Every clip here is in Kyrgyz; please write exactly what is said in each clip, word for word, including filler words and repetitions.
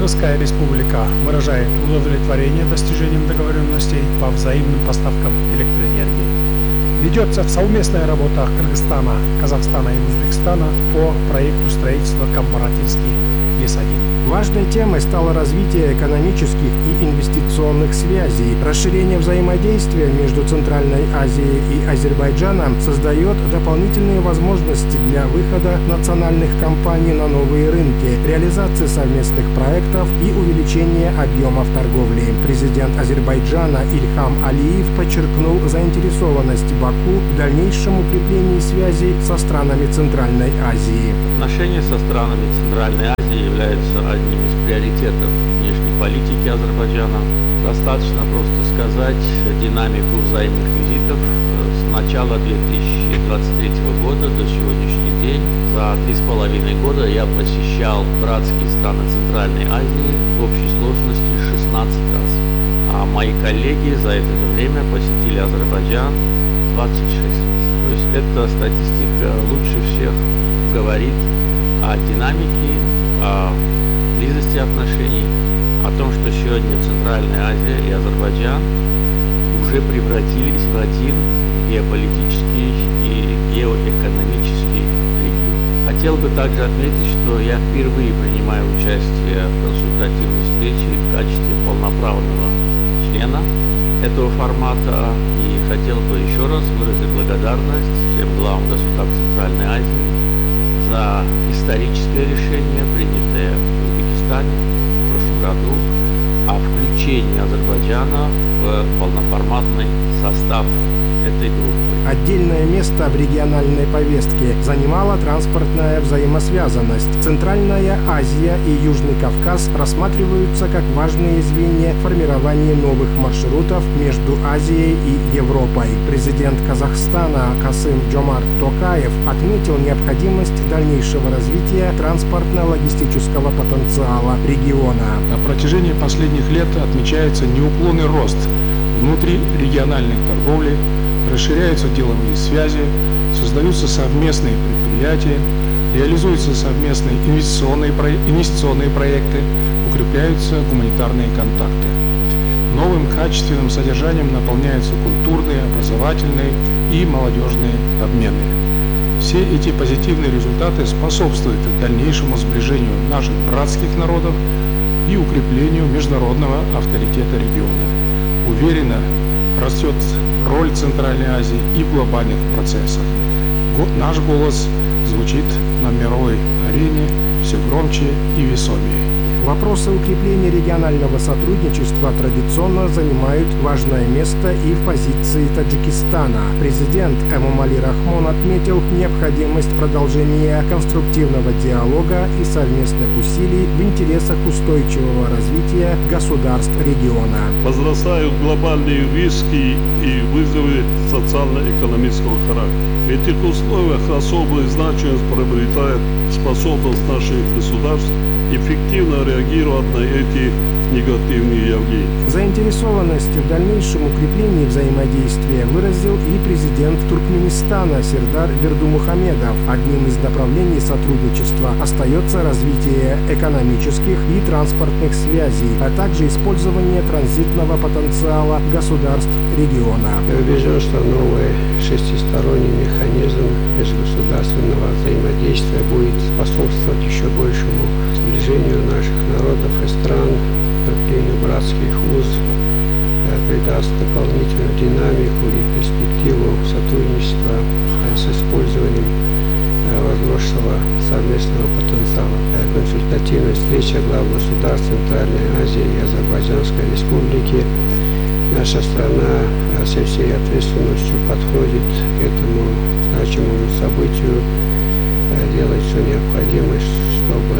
Кыргызская республика выражает удовлетворение достижением договоренностей по взаимным поставкам электроэнергии. Ведется совместная работа Кыргызстана, Казахстана и Узбекистана по проекту строительства Камбаратинский ГЭС один. Важной темой стало развитие экономических и инвестиционных связей. Расширение взаимодействия между Центральной Азией и Азербайджаном создает дополнительные возможности для выхода национальных компаний на новые рынки, реализации совместных проектов и увеличения объемов торговли. Президент Азербайджана Ильхам Алиев подчеркнул заинтересованность Баку в дальнейшем укреплении связей со странами Центральной Азии. Отношения со странами Центральной Азии являются одним из приоритетов внешней политики Азербайджана. Достаточно просто сказать динамику взаимных визитов с начала две тысячи двадцать третьего года до сегодняшний день. За три с половиной года я посещал братские страны Центральной Азии в общей сложности шестнадцать раз. А мои коллеги за это же время посетили Азербайджан двадцать шесть раз. То есть эта статистика лучше всех говорит о динамике, о близости отношений, о том, что сегодня Центральная Азия и Азербайджан уже превратились в один геополитический и геоэкономический регион. Хотел бы также отметить, что я впервые принимаю участие в консультативной встрече в качестве полноправного члена этого формата и хотел бы еще раз выразить благодарность всем главам государств Центральной Азии за историческое решение, принятое в Узбекистане в прошлом году, о включении Азербайджана в полноформатный состав этой группы. Отдельное место в региональной повестке занимала транспортная взаимосвязанность. Центральная Азия и Южный Кавказ рассматриваются как важные звенья формирования новых маршрутов между Азией и Европой. Президент Казахстана Касым-Жомарт Токаев отметил необходимость дальнейшего развития транспортно-логистического потенциала региона. На протяжении последних лет отмечается неуклонный рост внутрирегиональной торговли, расширяются деловые связи, создаются совместные предприятия, реализуются совместные инвестиционные, про... инвестиционные проекты, укрепляются гуманитарные контакты. Новым качественным содержанием наполняются культурные, образовательные и молодежные обмены. Все эти позитивные результаты способствуют дальнейшему сближению наших братских народов и укреплению международного авторитета региона. Уверенно растет роль Центральной Азии и в глобальных процессах. Наш голос звучит на мировой арене все громче и весомее. Вопросы укрепления регионального сотрудничества традиционно занимают важное место и в позиции Таджикистана. Президент Эмомали Рахмон отметил необходимость продолжения конструктивного диалога и совместных усилий в интересах устойчивого развития государств региона. Возрастают глобальные риски и вызовы социально-экономического характера. В этих условиях особую значимость приобретает способность наших государств эффективно реагировать на эти негативные явления. Заинтересованность в дальнейшем укреплении взаимодействия выразил и президент Туркменистана Сердар Бердумухамедов. Одним из направлений сотрудничества остается развитие экономических и транспортных связей, а также использование транзитного потенциала государств региона. Я убежден, что новый шестисторонний механизм межгосударственного взаимодействия будет способствовать еще большему сближению наших народов и стран, укреплению братских уз, придаст дополнительную динамику и перспективу сотрудничества с использованием возросшего совместного потенциала. Консультативная встреча глав государств Центральной Азии и Азербайджанской Республики. Наша страна со всей ответственностью подходит к этому значимому событию, делает все необходимое, чтобы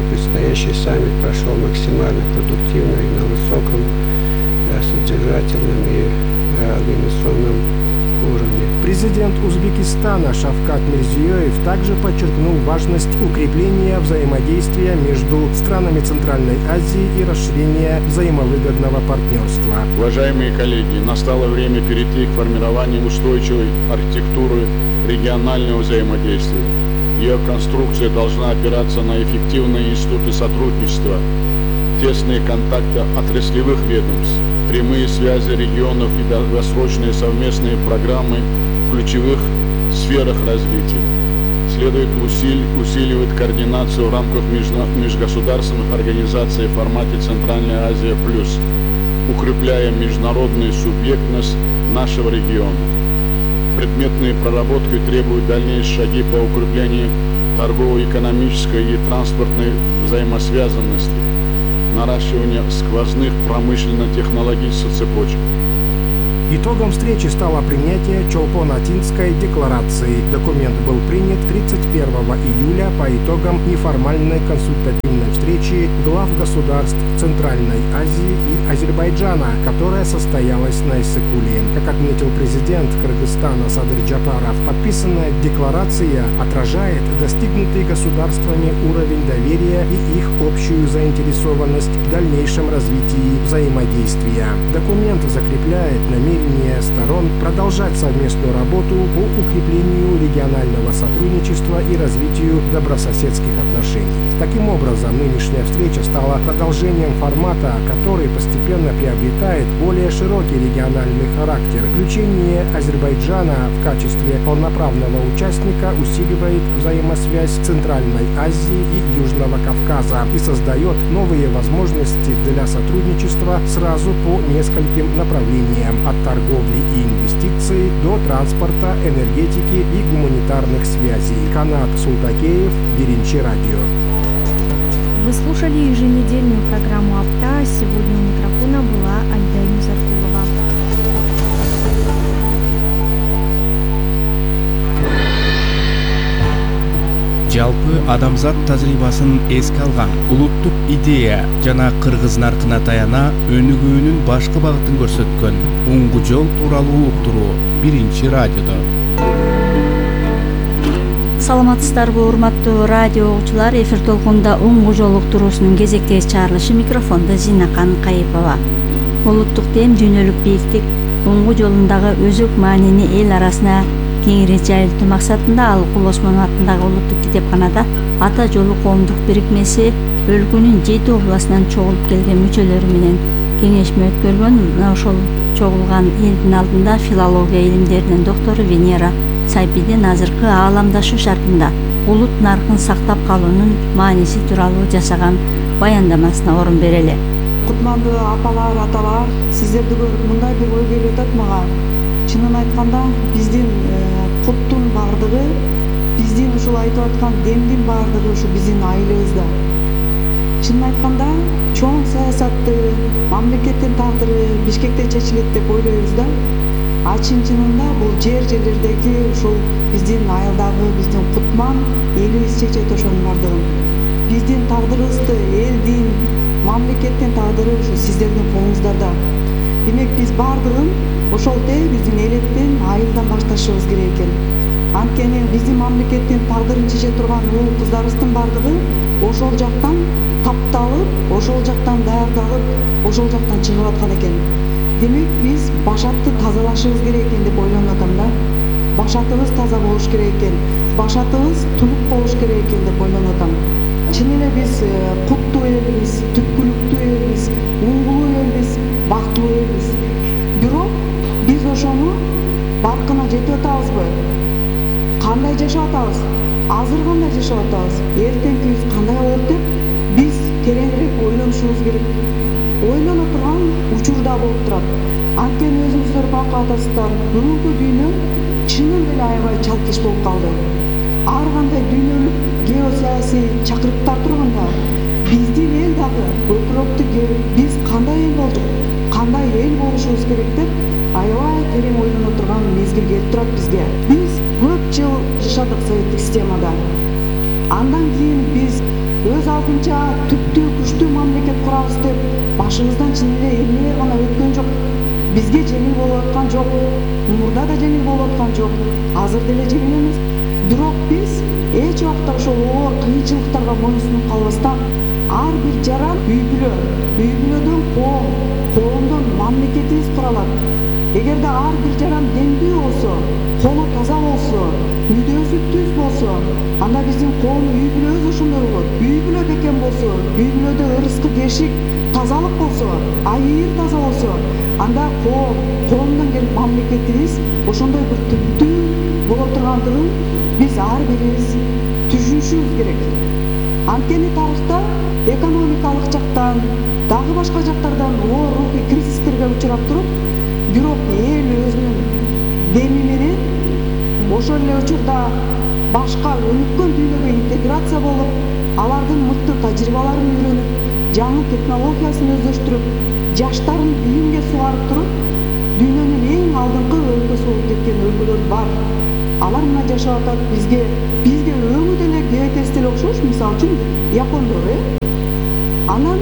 предстоящий саммит прошел максимально продуктивно и на высоком содержательном и организационном уровне. Президент Узбекистана Шавкат Мирзиёев также подчеркнул важность укрепления взаимодействия между странами Центральной Азии и расширения взаимовыгодного партнерства. Уважаемые коллеги, настало время перейти к формированию устойчивой архитектуры регионального взаимодействия. Ее конструкция должна опираться на эффективные институты сотрудничества, тесные контакты отраслевых ведомств, прямые связи регионов и долгосрочные совместные программы в ключевых сферах развития. Следует усили, усиливать координацию в рамках межна, межгосударственных организаций в формате Центральная Азия плюс, укрепляя международную субъектность нашего региона. Предметные проработки требуют дальнейшие шаги по укреплению торгово-экономической и транспортной взаимосвязанности, наращивания сквозных промышленно-технологических цепочек. Итогом встречи стало принятие Чолпон-Атинской декларации. Документ был принят тридцать первого июля по итогам неформальной консультативной встречи глав государств Центральной Азии и Азербайджана, которая состоялась на Иссык-Куле. Как отметил президент Кыргызстана Садыр Джапаров, подписанная декларация отражает достигнутый государствами уровень доверия и их общую заинтересованность в дальнейшем развитии взаимодействия. Документ закрепляет намерение сторон продолжать совместную работу по укреплению регионального сотрудничества и развитию добрососедских отношений. Таким образом, нынешняя встреча стала продолжением формата, который постепенно приобретает более широкий региональный характер. Включение Азербайджана в качестве полноправного участника усиливает взаимосвязь Центральной Азии и Южного Кавказа и создает новые возможности для сотрудничества сразу по нескольким направлениям – от торговли и инвестиций до транспорта, энергетики и гуманитарных связей. Канат Султакеев, Биринчи радио. Вы слушали еженедельную программу «Апта». Сегодня у микрофона была Айда Музаркулова. Жалпы адамзат тажрыйбасын эске алган улуттук идея жана кыргыз наркына таяна өнүгүүнүн башкы багытын көрсөткөн оңгу жол тууралуу уктуруу Биринчи радиодо. Саламатсыздарбы, урматтуу радио угуучулар, эфир толкунда оңгу жол уктуруусунун кезектеги чыгарылышы, микрофондо Зинакан Кайыпова. Улуттук дем, дүйнөлүк бийиктик оңгу жолундагы өзөк маанини эл арасына кеңири жайылтуу максатында Алыкул Осмонов атындагы улуттук китепканада Ата жолу коомдук бирикмеси өлкөнүн жети областынан чогулуп келген мүчөлөрү менен кеңешме өткөргөн. Ошол чогулган элдин алдында филология илимдеринин доктору Венера Сайпидин азыркы ааламдашуу шартында улут наркын сактап калуунун мааниси тууралуу жасаган баяндамасына орун берели. Кутмандуу апалар, аталар, сиздерди көрүп мындай бир ой келип атат мага. Чынын айтканда, биздин куттун бардыгы, биздин ушул айтып аткан демдин бардыгы ушу биздин айылыбызда. Чынын айтканда, чоң саясатты, мамлекеттин тагдыры Бишкекте чечилет деп ойлойбуз да. А чын-чынында бул жер жерлердеги ушул биздин айылдагы биздин кутман элибиз чечет ошонун бардыгын. Биздин тагдырыбызды, элдин, мамлекеттин тагдыры ушу сиздердин колуңуздарда. Демек биз бардыгын ошол тээ биздин элеттен, айылдан башташыбыз керек экен. Анткени биздин мамлекеттин тагдырын чече турган уул кыздарыбыздын бардыгы ошол жактан тапталып, ошол жактан даярдалып, ошол жактан чыгып аткан экен. Демек биз башатты тазалашыбыз керек экен деп ойлонуп атам да. Башатыбыз таза болуш керек экен, башатыбыз тунук болуш керек экен деп ойлонуп атам. Чын эле биз куттуу элбиз, түпкүлүктүү элбиз, уңгулуу элбиз, бактылуу элбиз. Бирок биз ошону баркына жетип атабызбы? Кандай жашап атабыз? Азыр кандай жашап атабыз? Эртеңкибиз кандай болот деп биз тереңирээк ойлонушубуз керек. Ойлоно турган учурда болуп турат. Анткени өзүңүздөр байкап атасыздар, бүгүнкү дүйнө чынын деле аябай чалкеш болуп калды. Ар кандай дүйнөлүк геосаясий чакырыктар турганда, биздин эл дагы көкүрөктү керип, биз кандай эл болдук, кандай эл болушубуз керек деп аябай терең ойлоно турган мезгил келип турат бизге. Биз көп жыл жашадык советтик системада. Андан кийин биз өз алдынча түптүү күчтүү мамлекет курабыз деп башыбыздан чын эле эмне гана өткөн жок. Бизге жеңил болуп аткан жок, мурда да жеңил болуп аткан жок, азыр деле жеңил эмес. Бирок биз эч убакта ошол оор кыйынчылыктарга моюнсунуп калбастан ар бир жаран үй бүлө, үй бүлөдөн коом, коомдон мамлекетибиз куралат. Эгерде ар бир жаран демдүү болсо, колу таза болсо, мүдөөсү өзү түз болсо, анда биздин коом үй бүлөбүз ошондой болот. Үй бүлө бекем болсо, үй бүлөдө ырыскы бешик тазалык болсо, айыр таза болсо, анда коом, коомдон келип мамлекетибиз ошондой бир түптүү боло тургандыгын биз ар бирибиз түшүнүшүбүз керек. Анткени тарыхта экономикалык жактан, дагы башка жактардан оор рухий кризистерге учурап туруп, бирок эл өзүнүн деми менен ошол эле учурда башка өнүккөн дүйнөгө интеграция болуп, алардын мыкты тажрыйбаларын үйрөнүп, жаңы технологиясын өздөштүрүп, жаштарын билимге сугарып туруп, дүйнөнүн эң алдыңкы өлкөсү болуп кеткен өлкөлөр бар. Алар мына жашап атат, бизге бизге өңү деле кебекеси деле окшош, мисалы үчүн япондор, э? Анан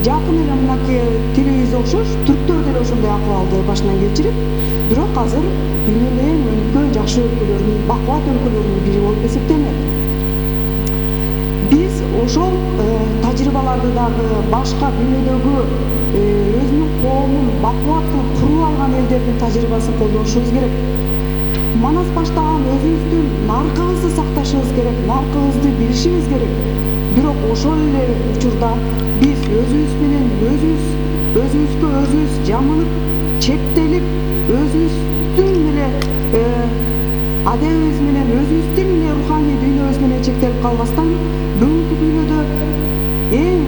жакын эле мынакей тилибиз окшош, түрктөр деле ошондой акыбалды башынан кечирип, бирок азыр дүйнөнүн эң өнүккөн жакшы өлкөлөрүнүн, бакубат өлкөлөрүнүн бири болуп эсептелет. Биз ошол тажрыйбаларды дагы башка дүйнөдөгү өзүнүн коомун бакубат кылып куруп алган элдердин тажрыйбасын колдонушубуз керек. Манас баштаган өзүбүздүн наркыбызды сакташыбыз керек, наркыбызды билишибиз керек. Бирок ошол эле учурда биз өзүбүз менен өзүбүз, өзүбүзгө өзүбүз жамынып, чектелип, өзүбүздүн эле адебибиз менен, өзүбүздүн эле руханий дүйнөбүз менен чектелип калбастан, бүгүнкү дүйнөдө эң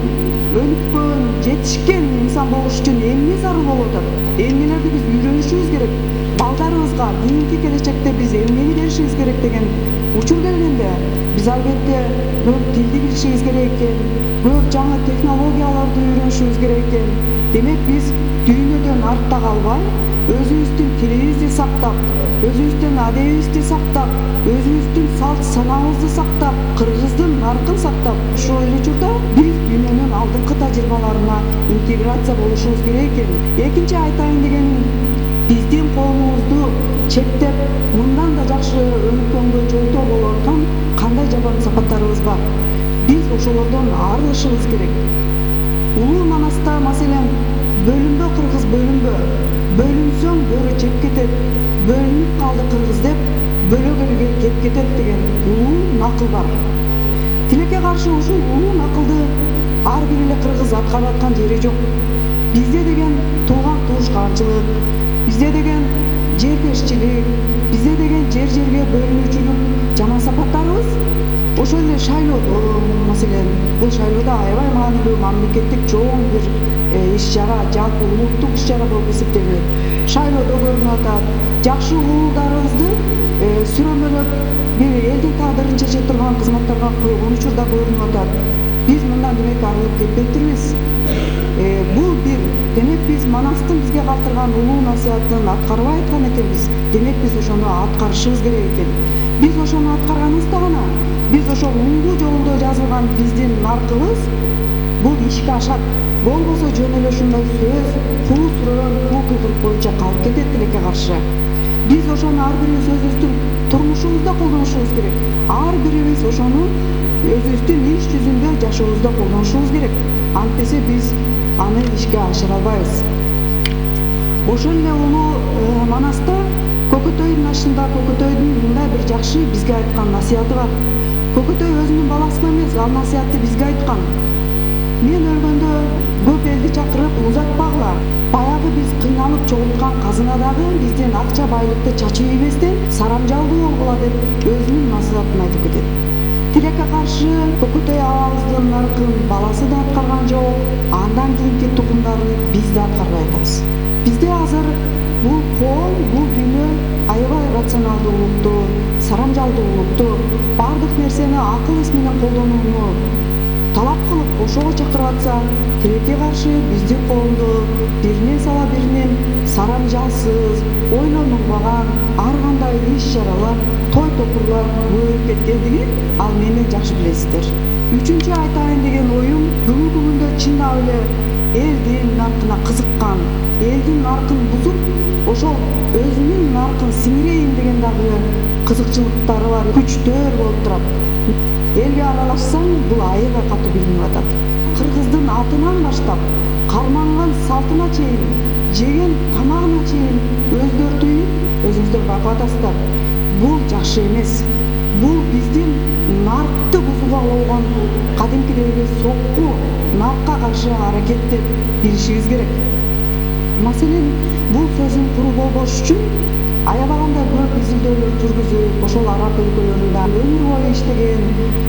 өнүккөн, жетишкен инсан болуш үчүн эмне зарыл болуп атат? Эмнелерди биз үйрөнүшүбүз керек? Балдарыбызга кийинки келечекте биз эмнени беришибиз керек деген учур келгенде, биз албетте көп тилди билишибиз керек экен, көп жаңы технологияларды үйрөнүшүбүз керек экен. Демек биз дүйнөдөн артта калбай, өзүбүздүн тилибизди сактап, өзүбүздүн адебибизди сактап, өзүбүздүн салт санаабызды сактап, кыргыздын наркын сактап, ошол эле учурда биз дүйнөнүн алдыңкы тажрыйбаларына интеграция болушубуз керек экен. Экинчи айтайын дегеним, биздин коомубузду чектеп, мындан да жакшы өнүккөнгө жолтоо болуп аткан кандай жаман сапаттарыбыз бар. Биз ошолордон арылышыбыз керек. Улуу Манаста маселен бөлүнбө кыргыз бөлүнбө, бөлүнсөң бөрү жеп кетет, бөлүнүп калды кыргыз деп бөлөгөлгө кеп кетет деген улуу накыл бар. Тилекке каршы ушул улуу накылды ар бир эле кыргыз аткарып аткан жери жок. Бизде деген тууган туушканчылык, бизде деген жербешчилик, бизде деген жер жерге бөлүнүүчүлүк жаман сапаттарыбыз ошол эле шайлоодо, маселен, бул шайлоодо аябай маанилүү мамлекеттик чоң бир иш-чара, жалпы улуттук иш-чара болуп эсептелет. Шайлоодо көрүнүп атат. Жакшы уулдарыбызды сүрөмөлөп, бир элдин тагдырын чече турган кызматтарга койгон учурда көрүнүп атат. Биз мындан демек арылып кетпептирбиз. Бул бир, демек биз Манастын бизге калтырган улуу насыятын аткарбай аткан экенбиз. Демек биз ошону аткарышыбыз керек экен. Биз ошону аткарганыбызда гана биз ошол уңгу жолунда жазылган биздин наркыбыз бул ишке ашат. Болбосо жөн эле ушундай сөз, куу сүрөөн, куу кыйкырык боюнча калып кетет тилекке каршы. Биз ошону ар бирибиз өзүбүздүн турмушубузда колдонушубуз керек. Ар бирибиз ошону өзүбүздүн иш жүзүндө жашообузда колдонушубуз керек. Антпесе биз аны ишке ашыра албайбыз. Ошол эле улуу Манаста Көкөтөйдүн ашында Көкөтөйдүн мындай бир жакшы бизге айткан насыяты бар. Көкөтөй өзүнүн баласына эмес, ал насыятты бизге айткан. Мен өлгөндө көп элди чакырып узатпагыла. Баягы биз кыйналып чогулткан казынадагы биздин акча байлыкты чачып ийбестен сарамжалдуу болгула деп өзүнүн насыятын айтып кетет. Тилекке каршы Көкөтөй абабыздын наркын баласы да аткарган жок, андан кийинки тукумдары биз да аткарбай атабыз. Бизде азыр бул коом, бул дүйнө аябай рационалдуулукту, сарамжалдуулукту, бардык нерсени акыл эс менен колдонууну талап кылып ошого чакырып атса, тилекке каршы биздин коомду биринен сала биринен сарамжалсыз, ойлонулбаган ар кандай иш-чаралар, той топурлар көбөйүп кеткендигин ал менден жакшы билесиздер. Үчүнчү айтайын деген оюм, бүгүнкү күндө чындап эле элдин наркына кызыккан, элдин наркын бузуп, ошол өзүнүн наркын сиңирейин деген дагы кызыкчылыктары бар күчтөр болуп турат. Элге аралашсаң, бул аябай катуу билинип атат. Кыргыздын атынан баштап, карманган салтына чейин, жеген тамагына чейин өзгөртүп, өзүңүздөр байкап атасыздар. Бул жакшы эмес. бул биздин наркты бузууга болгон кадимкидеги сокку наркка каршы аракет деп билишибиз керек. Маселен, бул сөзүн куру болбош үчүн аябаганда көп изилдөөлөр жүргүзүп, ошол араб өлкөлөрүндө өмүр бою иштеген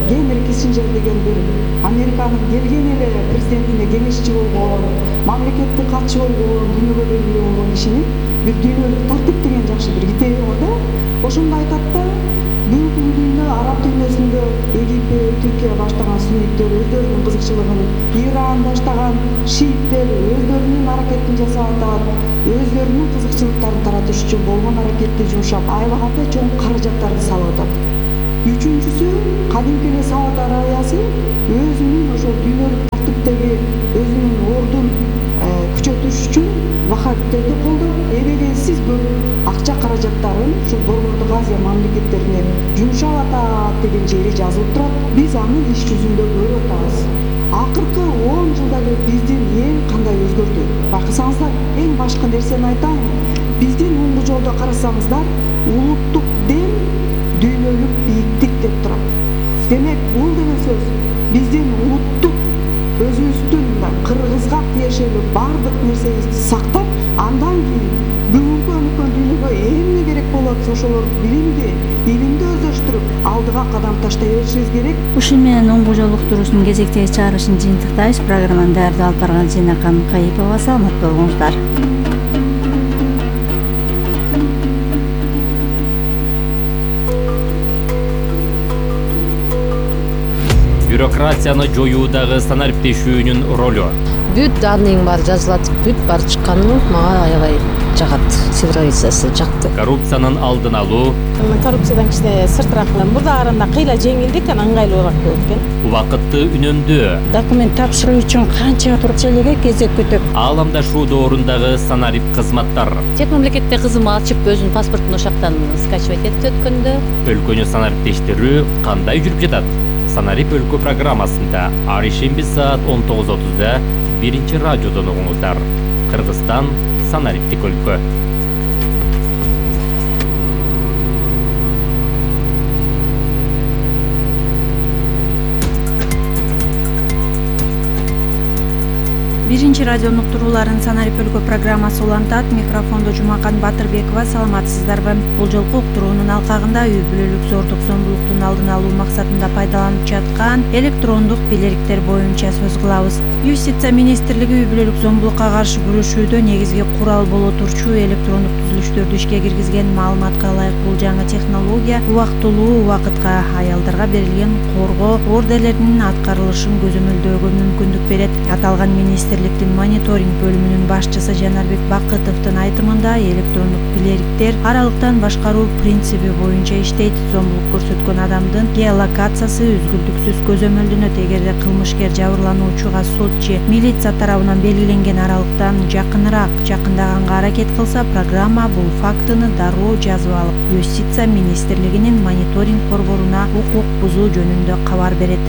Генри Киссинджер деген бир Американын келген эле президентине кеңешчи болгон, мамлекеттик катчы болгон, дүйнөгө белгилүү болгон кишинин бир дүйнөлүк тартип деген жакшы бир китеби бар да. Ошондо айтат да, бүгүнкү күндө араб дүйнөсүндө Египет, Түркия баштаган сунниттер өздөрүнүн кызыкчылыгын, Иран баштаган шииттер өздөрүнүн аракетин жасап атат, өздөрүнүн кызыкчылыктарын таратыш үчүн болгон аракетти жумшап, аябаганда чоң каражаттарды салып атат. Үчүнчүсү, кадимки эле Сауд Арабиясы өзүнүн ошол дүйнөлүк тартиптеги өзүнүн ордун күчөтүш үчүн ваххабиттерди колдоп, эбегейсиз көп акча каражаттарын ушул Борбордук Азия мамлекеттерине жумшап атат деген жери жазылып турат. Биз аны иш жүзүндө көрүп атабыз. Акыркы он жылда эле биздин эл кандай өзгөрдү? Байкасаңыздар, эң башкы нерсени айтайын. Биздин оңгу жолдо карасаңыздар, улуттук дем дүйнөлүк бийиктик деп турат. Демек, бул деген сөз биздин улуттук өзүбүздүн кыргызга тиешелүү бардык нерсебизди сактап, андан кийин бүгүнкү өнүккөн дүйнөгө эмне керек болот, ошолорду билимди, илимди өздөштүрүп, алдыга кадам таштай беришибиз керек. Ушун менен оңгу жол уктуруусунун кезектеги чыгарылышын жыйынтыктайбыз. Программаны даярдап алып барган Зинакан Кайыпова. Саламат болуңуздар. Бюрократияны жоюудагы санариптешүүнүн ролу. Бүт данныйың бар жазылат, бүт бар чыкканы мага аябай жагат. Цифровизация жакты. Коррупциянын алдын алуу. Коррупциядан кичине сыртыраак мурда караганда кыйла жеңилдик, анан ыңгайлуураак болот экен. Убакытты үнөмдөө. Документ тапшыруу үчүн канча турчелеге кезек күтүп. Ааламдашуу доорундагы санарип кызматтар. Чет мамлекетте кызым ачып өзүнүн паспортун ошактан скачивать этти өткөндө. Өлкөнү санариптештирүү кандай жүрүп жатат? Санарип өлкө программасында ар ишемби саат он тогуз отузда биринчи радиодон угуңуздар. Кыргызстан санариптик өлкө. Биринчи радионун уктурууларын Санарип өлкө программасы улантат. Микрофондо Жумакан Батырбекова. Саламатсыздарбы? Бул жолку уктуруунун алкагында үй бүлөлүк зордук зомбулуктун алдын алуу максатында пайдаланып жаткан электрондук бийликтер боюнча сөз кылабыз. Юстиция министрлиги үй бүлөлүк зомбулукка каршы күрөшүүдө негизги курал боло турчу электрондук түзүлүштөрдү ишке киргизген. Маалыматка ылайык бул жаңы технология убактылуу убакытка аялдарга берилген коргоо ордерлеринин аткарылышын көзөмөлдөөгө мүмкүндүк берет. Аталган министрликтин мониторинг бөлүмүнүн башчысы Жанарбек Бакытовдун айтымында электрондук бийликтер аралыктан башкаруу принциби боюнча иштейт. Зомбулук көрсөткөн адамдын геолокациясы үзгүлтүксүз көзөмөлдөнөт. Эгерде кылмышкер жабырлануучуга сот же милиция тарабынан белгиленген аралыктан жакыныраак жакындаганга аракет кылса, программа бул фактыны дароо жазып алып, Юстиция министрлигинин мониторинг борборуна укук бузуу жөнүндө кабар берет.